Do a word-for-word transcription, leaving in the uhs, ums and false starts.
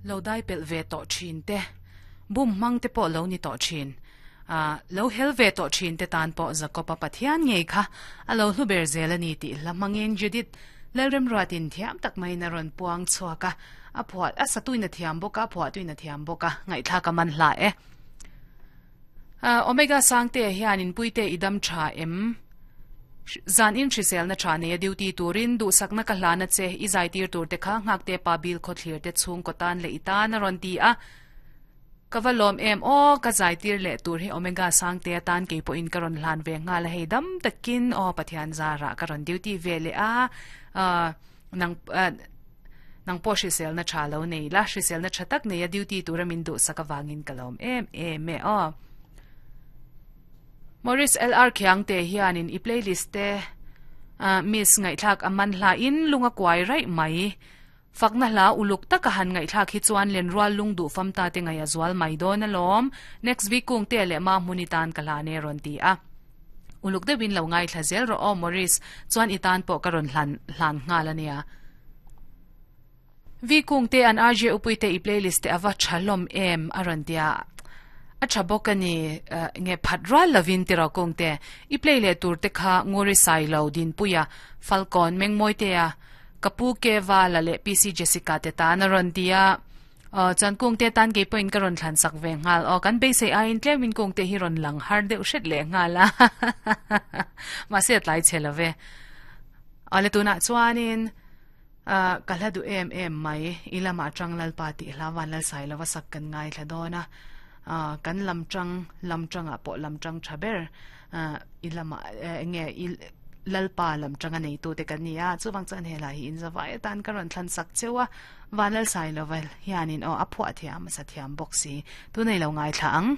Lo dai pel ve tawh thin te bum hmang te pawh lo ni tawh thin a lo hel ve tawh thin te tan pawh Jakoba Pathian ngei kha a lo hlu ber zel ani tih hla hmangin Judith Lalremruatin thiam tak maiin a rawn puang chhuak a a phuah a satuin a thiam bawk a a phuahtuin a thiam bawk a ngaihthlak a man hla e. Omega Sangte hianin Puite i dam tha em? Zan in hriselna tha nei a duty turin duhsakna ka hlana che i zaitir tur te kha nghakte pa bil khawthlir te chhungkaw tan leh i tan a rawn ti a. Ka va lawm em aw ka zaitir leh tur hi Omega Sangte atan kei pawhin ka rawn hlan ve nghal a hei dam takin aw Pathian zarah ka rawn duty ve leh a nang nang pawh hriselna tha lo nei la hriselna tha tak nei a duty tura min duhsak avangin ka lawm em em e aw. Maurice L R Khiangte hianin i playlist te miss ngaihthlak a man hla in lung a kuai raih mai. Fakna hla uluk taka han ngaihthlak hi chuan lenrual lung duh fam ta te ngaih a zual mai dawn alawm. Next week kung te leh ma hmun i tan ka hla ne rawn ti a. Uluk deuhin lo ngaithla zel rawh aw Maurice chuan i tan pawh ka rawn hlan hlan nghal ania. Vi kung te an R J upui te i playlist te ava tha hlawm em a rawn ti a. A tha bawk a ni nge phat rual lovin ti rawh kung te i play leh tur te kha Nguri Sailo Dinpuia Falcon Mengmawi te a Ka pu Keva la leh P C Jessica te tan a rawn ti a chuan kung te tan kei pawhin ka rawn thlan sak ve nghal aw kan beisei aiin tlemin kung te hi rawn lang har deuh hret leh nghal a mahse a tlai chhe love awle tunah chuanin ka hla duh em em mai i lamah tang Lalpa tih hla van Lalsai lova sak kan ngaithla dawn a kan lam tang lam tangah pawh lam tang tha ber i lamah enge i Lalpa lam tanga neitu te kan ni a chuwang chuan helai hi in zawai atan ka rawn thlan sak cheu a van Lalsai lova hianin aw a phuah thiam a sa thiam bawk si tunei lo ngaithla ang.